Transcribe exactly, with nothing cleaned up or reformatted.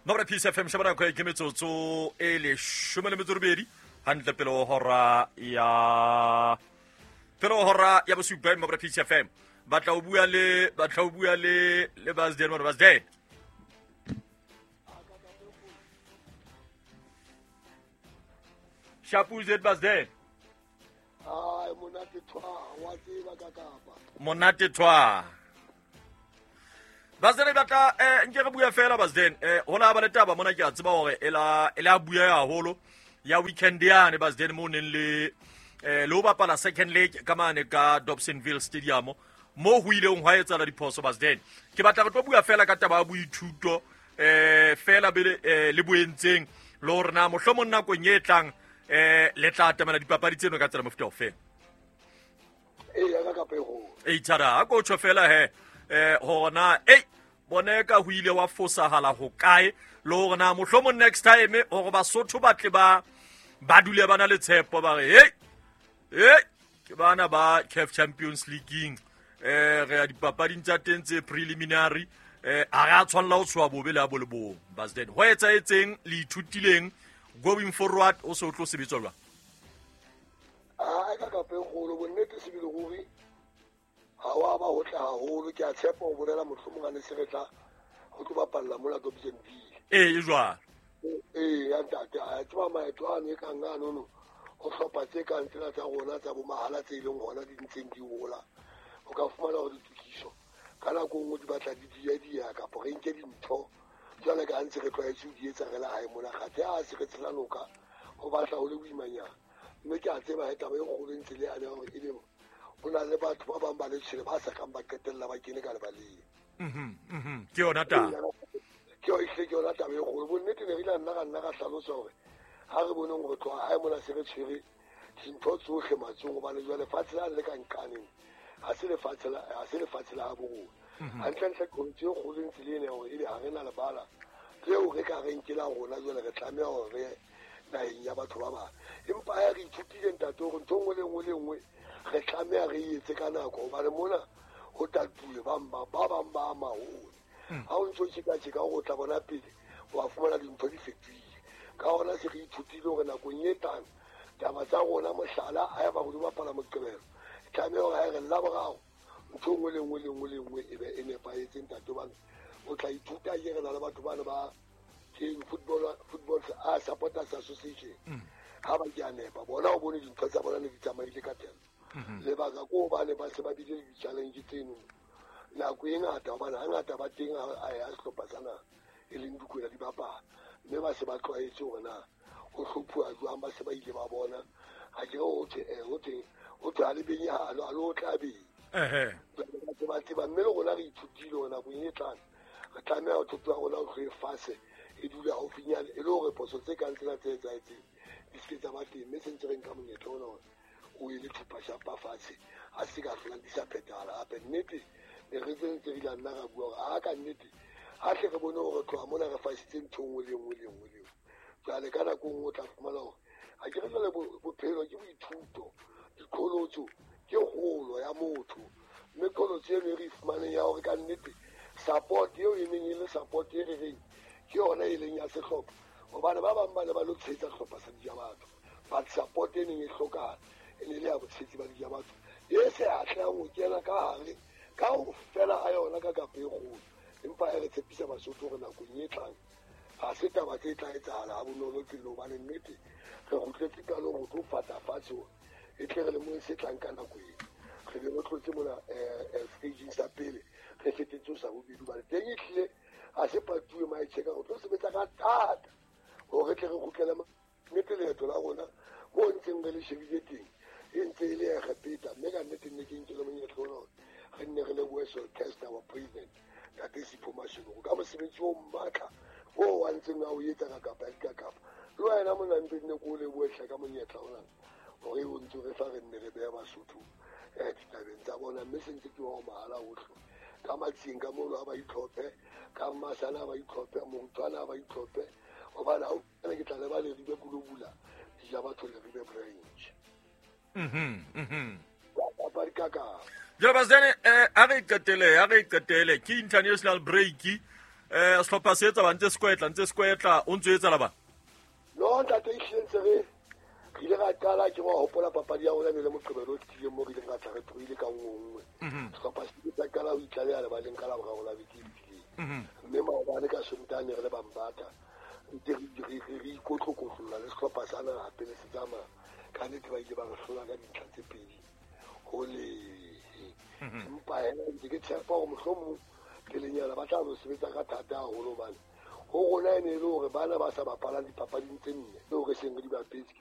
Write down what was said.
Mabra Peace F M shaba nako e ke metsotso e leshome le metso robedi hantle pele ho hora ya pele ho hora ya bosupa. Mabra Peace F M batla o bua le batla o bua le le Basden mona Basden. Shapu Z Basden. Ai monate twa wa tseba ka kapa. Monate twa. Basden batla eh nke re bua fela Basden eh hona ba le taba mona ke a tseba hore ela ela bua haholo ya weekend yane Basden mo neng le eh le ho bapala second leg ka mane ka Dobsonville Stadium mo ho ileng hwa etsahala diphoso Basden. Ke batla re tlo bua fela ka taba ya boithuto eh fela bele eh, le boentseng le hore na mohlomong nakong e tlang eh le tla atamela dipapadi tseno ka tsela mofuta ofe. E ya ka kapa e holo. E tshara a ko tjho fela he eh hore na ei bone ka ho ile wa fosahala ho kae le hore na mohlomong next time hore Basotho ba tle ba ba dule ba na le tshepo ba re hey hey ke bana ba C A F Champions League eh re ya dipapading tsa teng tse preliminary eh a re a tshwanela ho tshoha bobe le a bo le bong Basden. Ho etsahetseng le ithutileng going forward o se o tlo sebetsa jwang? A ka kapa e kgolo bonnete sebile ruri ha wa ba ho tla haholo. Ke a tshepa ho bolela mohlomong a ne se re tla ho tlo bapalla mona Dobsonville. Ee e jwalo. Ee ya ntate a tseba maeto ano e kang ano no ho hlopha tse kang tsena tsa rona tsa bo mahala tse leng hona di ntseng di hola. O ka fumana hore ditokiso ka nako nngwe di batla di dia dia kapa re nke dintho jwale ka ntse re tlwaetse ho di etsa re le hae mona kgathe a se re tshela noka ho batla ho le boimanyana. Mme ke a tseba he taba e kgolo e ntse le yane hore ebe ho na le batho ba bang ba letshwele ba sa kang ba qetella ba kene ka lebaleng. Mhm mhm ke yona taba. Ke yona ke yona taba e kgolo. Bonnete ne re ile nna ra nna ra hlalosa hore ha re boneng hore tloha hae mona se re tshwere dintho tsohle matsong hobane jwale lefatshe la le ka nqaneng ha se lefatshe la ha se lefatshe la bo rona. Hantlentle qholotso e kgolo ntse le ena hore ebe ha re na lebala leo re ka reng ke la rona jwale re tlameha hore re naheng ya batho ba bang. Empa ha re ithutile ntate hore ntho e nngwe le nngwe le nngwe re tlameha re e etse ka nako hobane mona ho tatuwe ba ba ba bang ba maholo. Ha o ntso tjeka-tjeka hore o tla bona pele wa fumana dintho di fetohile. Ka hona se re ithutile hore nakong e tlang taba tsa rona mohlala ha eba re di bapala Moqebelo tlameha hore ha re Laboraro ntho nngwe le nngwe le nngwe le nngwe e be e nepahetse ntate hobane o tla ithuta ke re na le batho bana ba teng football football a supporters association ha ba ke a nepa bona o bone dintho tsa bona ne di tsamaile ka teng. Lebaka ko hobane ba se ba bile le di-challenge tseno nako e ngata hobane hangata ba teng a ya sehlopha sa naha e leng Dikwena di bapala mme ba se ba tlwaetse hore na ho hlophuwa jwang ba se ba ile ba bona ha ke re ho thwe ho thwe ho thwe ha le benye ha lo ha lo tla beng. Ehe. Ba tseba mme le rona re ithutile hore nakong e tlang re tlameha ho thoto ya rona ho tlohe fatshe e dule haufinyane e le hore phoso tse kang tsena tse etsahetseng di se ke tsa ba teng mme se ntse re nka monyetla ona hore o ele thupa shapa fatshe ha se ka hlolang di sa phethahala hape. Nnete ne re tse ntse re ile nna ra bua hore ha ka nnete ha hle re bone hore tloha mona re fasitse ntho e nngwe le nngwe le nngwe le nngwe. Jwale ka nako e nngwe o tla fumana hore ha ke re jwale bophelo ke boithuto diqholotso ke kgolo ya motho mme qholotso eno e re e fumaneng ya hore ka nnete support eo e neng e le support e re reng ke yona e leng ya sehlopha hobane ba bang ba ne ba lo tshehetsa sehlopha sa Dijabatho but support e neng e hlokahala e ne le ya botshehetsi ba Dijabatho e se atlehang ho kena ka hare ka ho fela ha yona ka kapa e kgolo. Empa e re tshepisa Basotho hore nakong e tlang ha se taba tse tla etsahala ha bonolo tselo hobane nnete re kgutletse qalong ho tlo fata fatshe hore e tle re lemong se tlang ka nako eo re be re tlotse mona stageng sa pele re fetetse ho sa bobedi hobane teng e hlile ha se patuwe maetjheka ho tlo sebetsa ka thata hore tle re kgutlele nnete leeto la rona moo ntseng re le shebile teng e ntse e le Egepeta mme ka nnete nne ke nkele monyetla ona hore re nne re lebohe Solcaster wa president Ntate Sipho Mashego ka mosebetsi o matla o a ntseng a o etsa ka kapa ya dikakapa. Le wena mona mpe nne ko o lebohe hle ka monyetla ona hore o ntso re fa re nne re beha Basotho eh ditabeng tsa bona mme se ntse ke wa mahala ohle ka matsing ka mono ha ba itlhophe ka masana ha ba itlhophe morutswana ha ba itlhophe hobane ha o ke tla le ba le ribe kulobula Dijabatho le ribe branch. Mhm mhm. Ba dikakapa. Jwale Basden eh a re qetele a re qetele ke international break um sehlopha se etsa ba ntse se kwetla ntse se kwetla o ntse o etsa la bana No ntate, ehlile ntse re re ile ra qala. Ke wa hopola papadi ya rona ne le Moqebelo o fetileng mo re ileng ra tla re tlohile ka nngwe nngwe. Sehlopha se ile sa qala ho itlaleha lebaleng ka Laboraro la beke e fetileng, mme maobane ka Sontaha ne re le Bambata ntse re re ikotlokotlolla le sehlopha sa naha pele se tsamaya. Ka nnete ba ile ba re hlola ka dintlha tse pedi ho lehe, empa hela ntse ke tshepa hore mohlomong pelenyana ba tla no sebetsa ka thata haholo, hobane ho rona e ne e le hore bana ba sa bapalang dipapading tse nne tseo re seng re di bapetse.